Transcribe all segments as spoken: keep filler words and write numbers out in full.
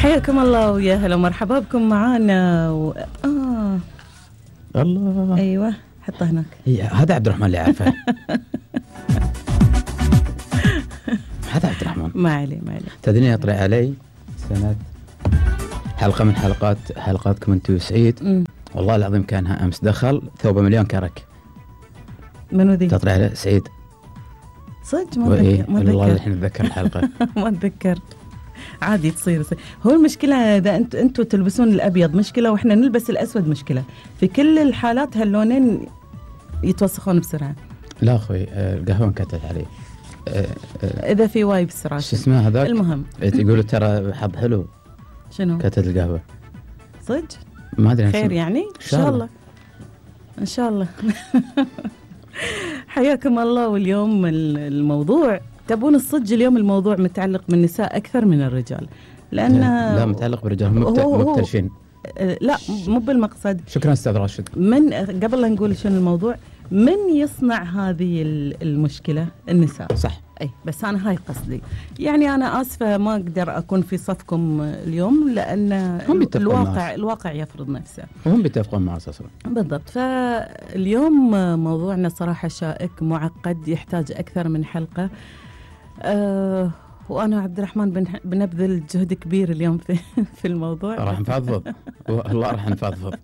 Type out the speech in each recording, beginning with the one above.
حياكم الله ويا هلا ومرحبا بكم معانا و... آه الله. أيوة حطه هناك. هذا عبد الرحمن اللي عارفه. هذا عبد الرحمن. ما عليه ما عليه. تدرين يطلع علي سنة حلقة من حلقات حلقاتكم انتو سعيد. م. والله العظيم كانها أمس دخل ثوبه مليون كرك. منو ذي؟ تطلع عليه سعيد. صدق ما أتذكر. ما والله الحين أتذكر الحلقة. ما أتذكر. عادي تصير, تصير. هو المشكلة إذا أنت أنتوا تلبسون الأبيض مشكلة وإحنا نلبس الأسود مشكلة. في كل الحالات هاللونين يتوسخون بسرعة. لا أخوي القهوة انكتت عليه. أه أه إذا في واي بسرعة. شو اسمه هذاك؟ المهم. يقولوا ترى حظ حلو. شنو؟ كتت القهوة. صدق؟ ما أدري. خير يعني؟ إن شاء الله. إن شاء الله. حياكم الله. واليوم الموضوع تبون الصدق اليوم الموضوع متعلق بالنساء أكثر من الرجال لأن لا متعلق بالرجال مبتلشين. لا مو بالمقصد. شكرا أستاذ راشد. من قبل لا نقول شنو الموضوع من يصنع هذه المشكلة؟ النساء. صح. أي بس أنا هاي قصدي يعني أنا آسفة ما أقدر أكون في صفكم اليوم لأن الواقع الواقع يفرض نفسه. وهم بيتفقون مع أساسا. بالضبط. فاليوم موضوعنا صراحة شائك معقد يحتاج أكثر من حلقة. أه وأنا عبد الرحمن بنبذل جهد كبير اليوم في في الموضوع. راح نفضفض. والله راح نفضفض.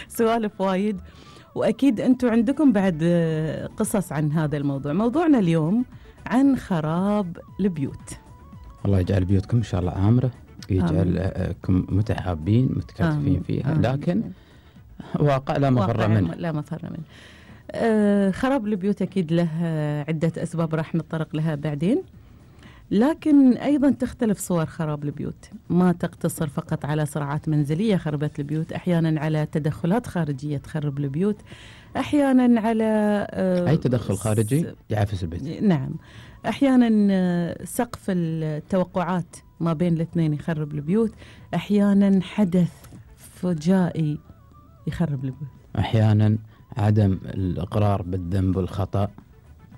سوالف وايد وأكيد أنتم عندكم بعد قصص عن هذا الموضوع. موضوعنا اليوم عن خراب البيوت. الله يجعل بيوتكم إن شاء الله عامرة يجعلكم متحابين متكاتفين فيها. آمين. لكن واقع لا مفر منه. لا مفر منه. آه خراب البيوت أكيد له عدة أسباب راح نتطرق لها بعدين. لكن أيضا تختلف صور خراب البيوت ما تقتصر فقط على صراعات منزلية خربت البيوت. أحيانا على تدخلات خارجية تخرب البيوت. أحيانا على آه أي تدخل خارجي يعفس البيت. نعم. أحيانا آه سقف التوقعات ما بين الاثنين يخرب البيوت. أحيانا حدث فجائي يخرب البيوت. أحيانا عدم الإقرار بالذنب والخطأ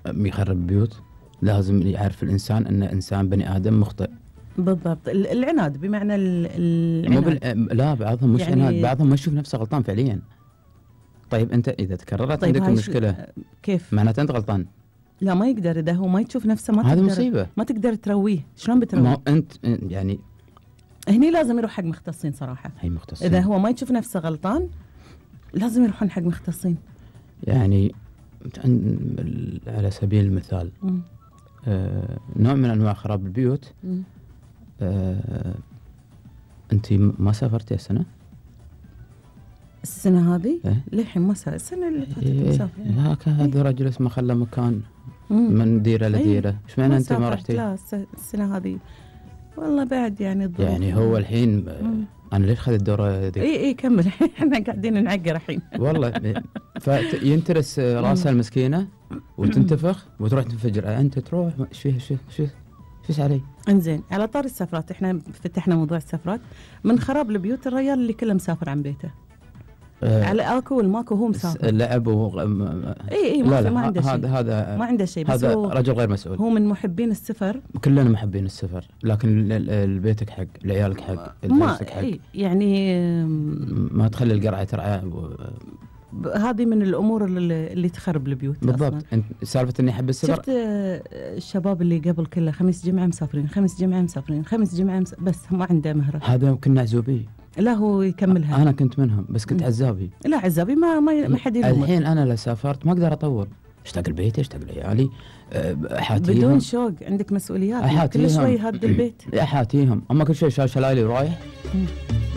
يخرب البيوت. لازم يعرف الإنسان أن إنسان بني آدم مخطئ. بالضبط. العناد بمعنى العناد. لا بعضهم مش يعني عناد بعضهم ما يشوف نفسه غلطان فعليا. طيب أنت إذا تكررت طيب عندك المشكلة كيف؟ معناته أنت غلطان. لا ما يقدر إذا هو ما يشوف نفسه ما هذا مصيبة. ما تقدر ترويه. شلون بترويه؟ ما أنت يعني هني لازم يروح حق مختصين صراحة. هي مختصين. إذا هو ما يشوف نفسه غلطان لازم يروحون حق مختصين. يعني على سبيل المثال آه، نوع من أنواع خراب البيوت. آه، أنت ما سافرتي السنة؟ السنة هذه؟ إيه؟ للحين ما سافرت. السنة اللي فاتت إيه مسافر. لا كان هذا رجل اسمه خلى مكان مم. من ديرة لديرة. إيش معنى أنت ما رحتي؟ لا السنة هذه والله بعد يعني الظروف. يعني هو الحين مم. أنا ليش خذ الدورة ذي؟ إيه إيه كمل. إحنا قاعدين نعقر الحين. والله فينترس راسها المسكينة وتنتفخ وتروح تنفجر. أنت تروح إيش فيها شو شو فيش علي. إنزين على طار السفرات إحنا فتحنا موضوع السفرات. من خراب البيوت الرجال اللي كله مسافر عن بيته. آه على آكو والماكو هو مسافر. اللعب و إي إي ما, ما عنده شيء. هذا هذا ما عنده شيء. بس هذا هو رجل غير مسؤول. هو من محبين السفر. كلنا محبين السفر لكن البيتك حق لعيالك حق لنفسك حق. يعني ما تخلي القرعة ترعى. هذه من الأمور اللي, اللي تخرب البيوت. بالضبط. أنت سالفة إني أحب السفر. شفت الشباب اللي قبل كله خميس جمعة مسافرين خميس جمعة مسافرين خميس جمعة مسافرين بس ما عنده مهرة. هذا كنا عزوبي. لا هو يكملها. أنا كنت منهم بس كنت عزابي. لا عزابي ما ما ما حد يلومك. الحين أنا لو سافرت ما أقدر أطول. اشتاق البيت اشتاق لعيالي أحاتيهم. بدون شوق عندك مسؤوليات. كل شوي هاد البيت. أحاتيهم أما كل شيء شال شلايلي ورايح.